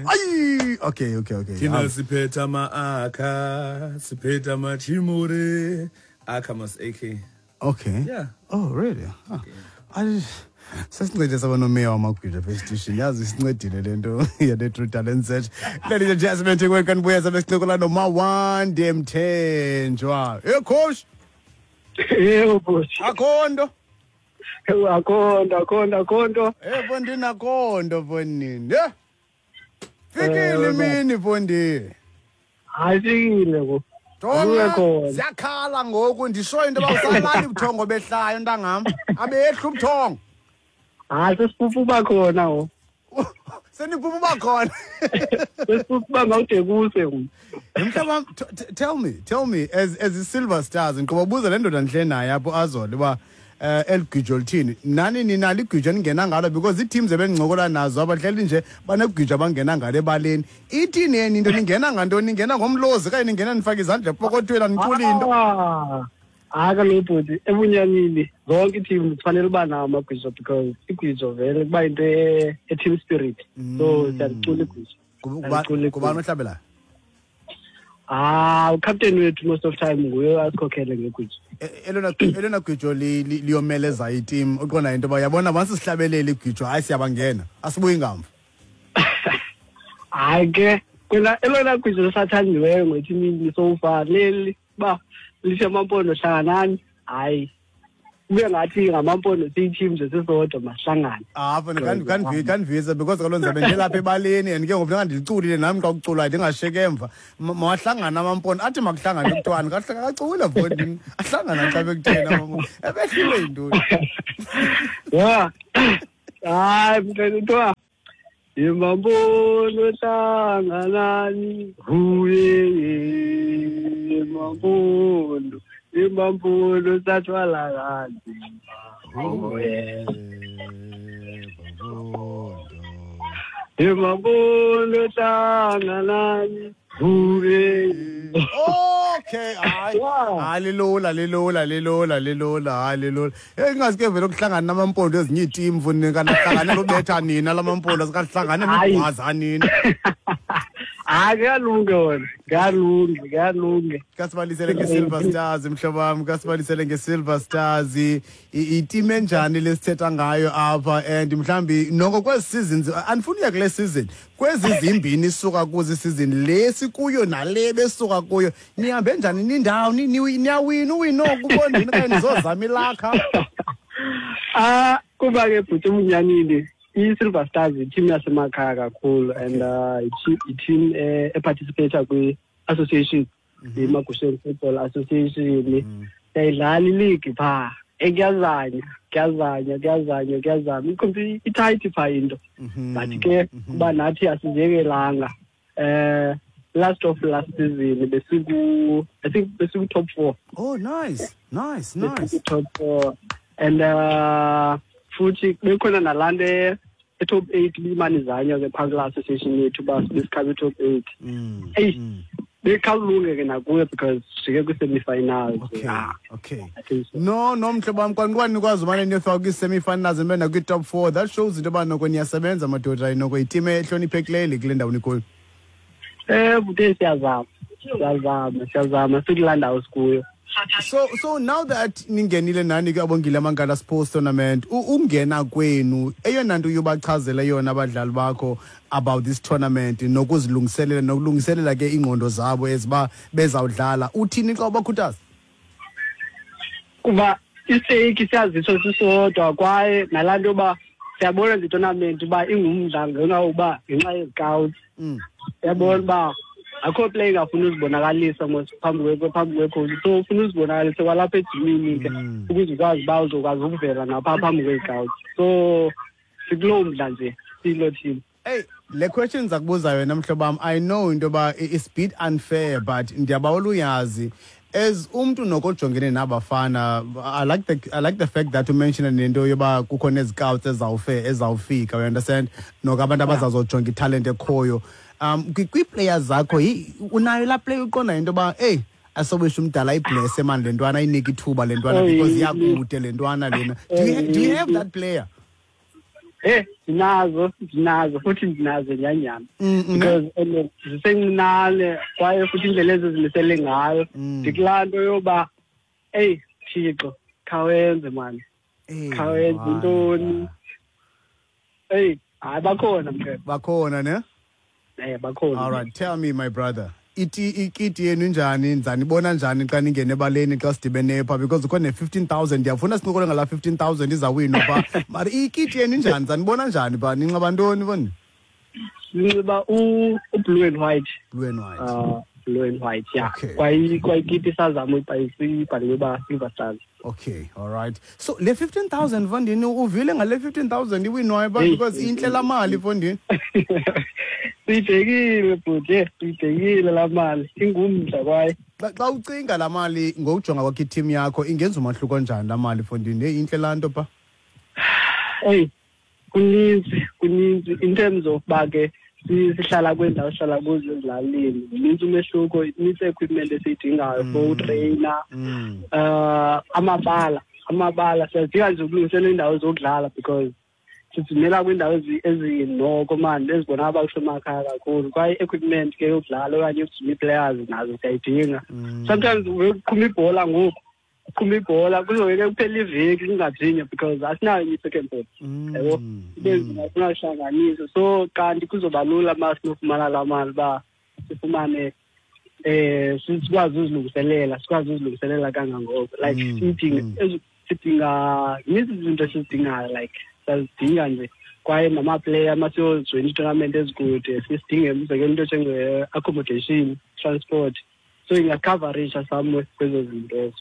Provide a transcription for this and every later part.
Ayi, okay. Thina siphethe ama-akha, siphethe amachimure. Akha mas AK. Okay. Yeah. Oh, really? Huh. I sesincede saba nomeya wamagwida apha esitishini. Yazi isincedile le nto yale True Talent Search. Ladies and gentlemen, thekweni kanibuya sabe sincokola noMawande Mthenjwa. Hey coach, Yebo bhuti. Akho nto. Akho nto, akho nto, akho nto. Eh fondini, akho nto fondini. Yeah. Fikile imini fondini. Hayi, fikile ngo. Jonga, Kuye khona. ziyakhala ngoku, ndishoyo into yoba usalali ubuthongo behlayo, ntangam. Abehla ubuthongo. Hayi, sesiphupha uba khona ngo. Seniphupha uba khona. Sesiphupha uba ngawude kuse ngo. Mhlawumbi tell me as i-Silver Stars, ngiqoba buza le ndoda ndihle naye apho azole uba eligwijo lithini. Nani ninalo igwijo eningena ngalo, because ii-teams ebendincokola nazo abahleli nje banegwijo abangena ngalo ebaleni. Ithini yeni into, ningena ngantoni? Ningena ngomlozi okanye ningena nifake izandla epokothweni, aniculi into? Ah. Hayi kaloku bhuti, ebunyanini zonke ii-team zifanele uba nawo amagwijo, because igwijo vele kuba yinto e-team spirit. So siyalicula igwijo. Siyacula. Kubani ohlabelayo? Ah, ucaptain wethu most of time nguye asikhokhele ngegwijo. Elona gwijo liyomeleza itim, uqonda into yoba yabona once sihlabelele igwijo, hayi, siyabangena, asibuyi ngamva? Hayi ke, kwena elona gwijo lisathandiweyo ngethimini so far leli uba lithi "Amampondo hlanganani." Hayi, kube ngathi ngamampondo siyi-team nje sisodwa, masihlangane. Apho kandivisa, because kaloku ndizabe ndilapha ebaleni and ke ngoku funeka ndiliculile nam xa kuculwayo, ndingashiyeki emva. Mawahlangane amampondo, athi makuhlangane kuthiwani, kacule fondini, ahlangana xa bekutheni amampondo, ebehliwe yintoni? Ya, hayi mntwana, kuthiwa "Imampondo hlanganani, huye imampondo, imampondo sathwala kanzima, huye imampondo hlanganani, huye." Okay, hayi. Hayi, lilula, lilula, lilula, lilula, hayi, lilula. Hey, ingaske vele ukuhlangana namampondo ezinye iiteam mfundini, kanti lubetha nina lamampondo, sikahlangane Hayi. nigwaza nina. Hayi, kuyalunga wona, kuyalunga, kuyalunga. Kasibalisele nge-Silver Stars, mhlobo wam, kasibalisele nge-Silver Stars. Iteam enjani lesithetha ngayo apha? And mhlawumbi noko kwezi seasons, andifuni uya kule season, kwezi zimbini isuka kuzo, isizini le sikuyo nale besuka kuyo, nihambe njani? Nindawo niyawina uwina oku bondini okanye nizozama ilakha? Ah, kuba ke bhuti, ubunyanini, i-Silver Stars yiteam yasemakhaya kakhulu and i-team eparticipata kwi-association, iMagusheni Football Association. Siyayidlala iligi phaa, ekuyazanya, kuyazanya, kuyazanya, kuyazama, itight phaa into, but ke kuba nathi asiziyekelanga. Last of last season besiku, I think besiku top four. Oh, nice. Besiku top four and futhi bekhona nalaa nto e-top eight bimane izanywa ke phaa kulaa association yethu uba besikhabe i-top eight. Eyi, bekhawulunge ke nakuyo because sijike kwi-semi-finals. Yeah, I think so. No, mhlobo wam, kwanqwa nikwazi umane niyofika kwii-semi-finals nibe nakwi-top four, that shows into yoba noko niyasebenza madoda, noko yiteam ehloniphekileyo le kule ndawo nikuyo. Bhuti, siyazama, siyazama, siyazama, sikulaa ndawo sikuyo. So now that ningenile nani ke Abongile Mankala Sports Tournament, ungena kwenu, eyona nto uyobachazela yona abadlali bakho about this tournament nokuzilungiselela, nokulungiselela ke iingqondo zabo eziba bezawudlala, uthini xa ubakhuthaza? Kuba istake siyaziso sisodwa, kwaye nalaa nto yoba siyabona nje itournament uba ingumdla ngenxa yokuba ngenxa yezicouts. Uyabona uba akho player ingafuni uzibonakalisa mos phambi kwecoach, so ufuna uzibonakalisa kwalapha ejimini ke ukuze ukwazi uba uzokwazi ukuvela naphaa phambi kwezicouts. So sikuloo mdla nje siyiloo team. Hey, le question zakubuza yona, mhlobo wam, I know into yoba it's bit unfair, but ndiyabawela uyazi as umntu nokojongene nabafana. I like the fact that umention nento yoba kukho nezicouts ezawufika, you understand, noko abantu abazazojonga italent ekhoyo kwii-players zakho. Unayo laa player uqonda into yoba eyi, asobisho umdala ayiblesse mani le ntwana, ayinike ithuba le ntwana, because iyakude le ntwana lena? Do you have that player? Ndinazo futhi ndinazo nyanyana. Because zisencinane kwaye futhi indlela ezizimisele ngayo. Ndikulaa nto yoba eyi Thixo khawenze mani. Khawenze intoni. Eyi hayi bakhona mkhwetha. Bakhona ne? Bakhona. All right, tell me my brother. Ikiti yenu njani, nizanibona njani xa ningene ebaleni xa sidibene pha, because ukhona ne-15,000 ndiyafuna sincokole ngala 15,000 izawinwa pha. Mara ikiti yenu njani, nizanibona njani pha, ninxiba ntoni boni? Sinxiba u-blue and white. Blue and white. Blue and white, yeah. Okay. Kwayikiti sazama uyibhalelwe uba Silver Stars. Okay, all right. So le 15,000 fondini uvile ngale 15,000 iwinwayo ba, because intle la mali fondini. Siyibhekile bhuti, siyibhekile la mali, ingumdla kwaye. Xa ucinga la mali ngokujonga kwakho i-team yakho ingenza umahluko njani la mali fondini? Hey, intle laa nto pha. Hey, kuninzi in terms of ba ke sihlala kwiindawo sihlala kuzo ezilalini, minintsi umehluko, inintsi equipment esiyidingayo for utreyina. Amabala siyazidinga nje ukulungisela iindawo zokudlala because sizimela kwiindawo ezinoko mani ezibonakala uba kusemakhaya kakhulu. Kwaye i-equipment ke yokudlala okanye yokujima ii-players nazo siyayidinga. Sometimes uqhuma ibhola ngoku, uqhuma ibhola kuzoke ke kuphela iveki kungajinywa because asinayo enye i-second ball. Yabo, ibe nzima singahlanganisi. So kanti kuzoba lula uma sinofumana laa mali uba sifumane sikwazi uzilungiselela, sikwazi uzilungiselela kangangoko. Like sidinga zininzi izinto esizidingayo, like siyazidinga nje. Kwaye namaplayer masiyojoyina ii-tournament ezikude sisidinge umzekelo into njenge-accommodation, transport. So ingacoverisha somewhere kwezo zinto ezo.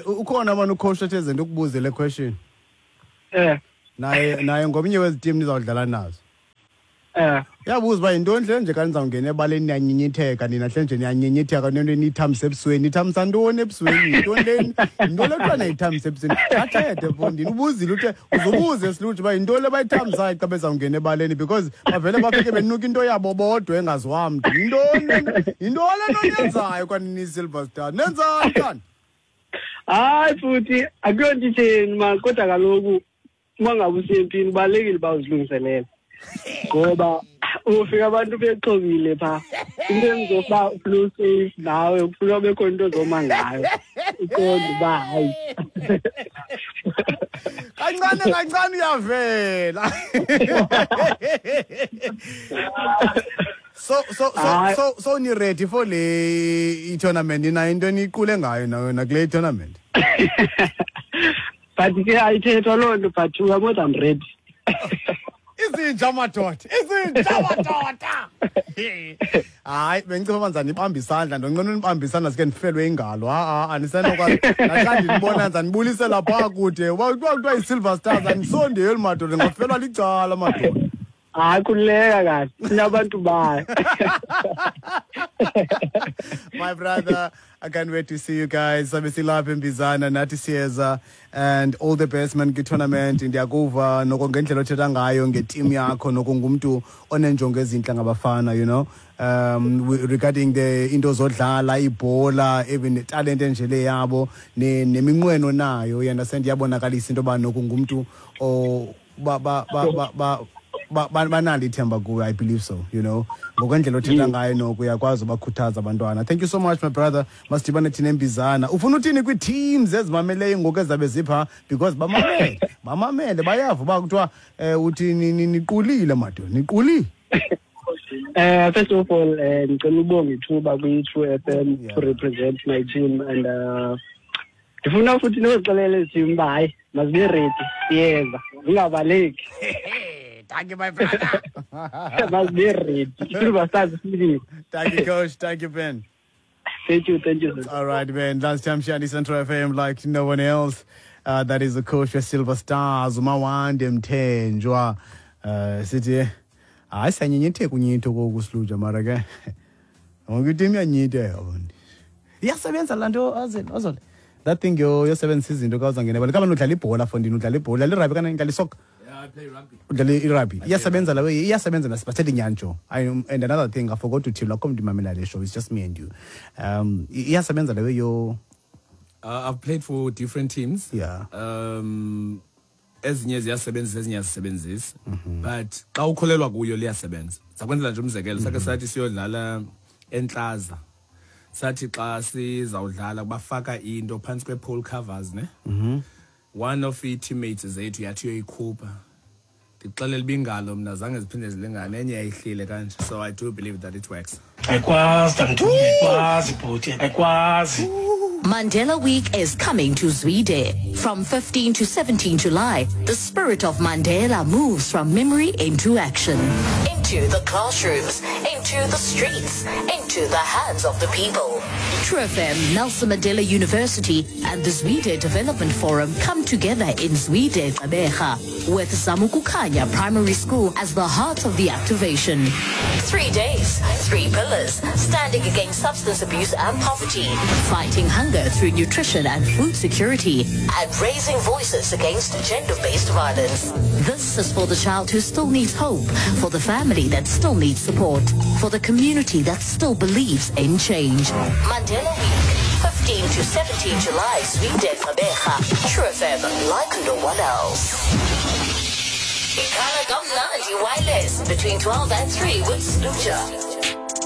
Ukhona abantu ucoach ethe zinto ukubuze le question. Naye ngomnye wezi team nizawudlala nazo. Uyabuza uba yintoni hle nje xa nizawungena ebaleni niyanyinyitheka nina hle nje niyanyinyitheka nento eniyithambisa ebusweni. Nithambisa ntoni ebusweni? Yintoni le? Yintoni le kuthiwa niyayithambisa ebusweni? Athethe mfondini, ubuzile uthe uzubuze Sluju uba yintoni le bayithambisayo xa bezawungena ebaleni, because bavele bafike benuka into yabo bodwa engaziwa mntu. Yintoni le nto? Yintoni le nto niyenzayo kwanini Silver Star? Nenzani kanti? Hayi futhi akuyonto itheni man, kodwa kaloku uma ngabe usempini kubalulekile uba uzilungiselele. Ngoba ufika abantu bexhobile pha. Into enzoba flu safe nawe kufika bekho into ozoma ngayo. Uqonde uba hayi. Kancane kancane uyavela. So ni ready for le tournament? Nina into eniqule ngayo na kule tournament? But ke ayithethwa loo nto, but we are more than ready. Izinja madoda, izinja madoda. Hayi, bengicela manzana nibambe isandla, ndonqena unibambe isandla sike ndifelwe ingalo. Ha ha, anisenokwazi. Naxa ndinibona nza nibulise lapha kude. Uba kuthiwa yi-Silver Stars, anisondeli madoda, ndingafelwa licala madoda. Hayi, khululeka kahle, sinabantu bayo. My brother, I can't wait to see you guys. Sabe silapha eMbizana, nathi siyeza, and all the best man kwi-tournament. Ndiyakuva noko ngendlela othetha ngayo ngeteam yakho, noko ngumntu onenjongo ezintle ngabafana, you know. Regarding the into zodlala ibhola, even netalente nje le yabo, neminqweno nayo, you understand, iyabonakalisa into yoba noko ngumntu o ba ba ba ba ba banalo ithemba kuwe, I believe so, you know. Ngokwendlela othetha ngayo noko uyakwazi ubakhuthaza abantwana. Thank you so much my brother. Masidibane thina eMbizana. Ufuna uthini kwii-teams ezimameleyo ngoku ezabe zipha? Because bamamele, bayava uba kuthiwa uthi niqulile madoda, niqulile. First of all, ndicela ubonga ithuba kwi-True FM to represent my team, and ndifuna futhi nozixelela ezi team uba hayi, mazibe ready, siyeza, zingabaleki. Thank you, my brother. Must be ready. Silver Stars. Thank you, Coach. Thank you, Ben. Thank you, thank you, sir. All right, Ben. Last time Shani Central FM like no one else. That is the coach of Silver Stars, Mawande Mthenjwa. Sithi hayi siyanyenyetheka unyitho kokusluja mara ke. Wonke iteam iyanyitheka abantu. Iyasebenza laa nto azole. That thing yosebenzisa izinto xa uzawungena ebholeni. Kaba udlala ibhola fondini, udlala ibhola, udlala irugby kanti udlala isoccer. Yeah, I play rugby. Udlala irugby. Iyasebenza la way, iyasebenza nasiphathele inyanjo. And another thing I forgot to tell you, akho mntu imamela le show, it's just me and you. Iyasebenza la way yo. I've played for different teams. Ezinye ziyasebenzisa, ezinye azisebenzisi, but xa ukholelwa kuyo liyasebenza. Sakwenzela nje umzekelo, sakhe sathi siyodlala entlaza, sathi xa sizawudlala bafaka into phantsi kwe-pole covers, ne. One of ii-teammates zethu yathi uyoyikhupha, ndixelela uba ingalo mna zange ziphinde zilingane, enye yayihlile kanje. So I do believe that it works. Ayikwazi, tamthunye, ayikwazi bhuti, ayikwazi. Mandela Week is coming to Zwide. From 15 to 17 July, the spirit of Mandela moves from memory into action. Into the classrooms, into the streets, into the hands of the people. True FM, Nelson Mandela University, and the Zwide Development Forum come together in Zwide Gqeberha, with Zamukukanya Primary School as the heart of the activation. 3 days, three pillars, standing against substance abuse and poverty, fighting hunger through nutrition and food security, and raising voices against gender-based violence. This is for the child who still needs hope, for the family that still needs support, for the community that still believes in change. Mandela Week, 15 to 17 July, Zwide Gqeberha. True FM, like no one else. Ikhala Kamnandi Wireless between 12 and 3 with Sluja.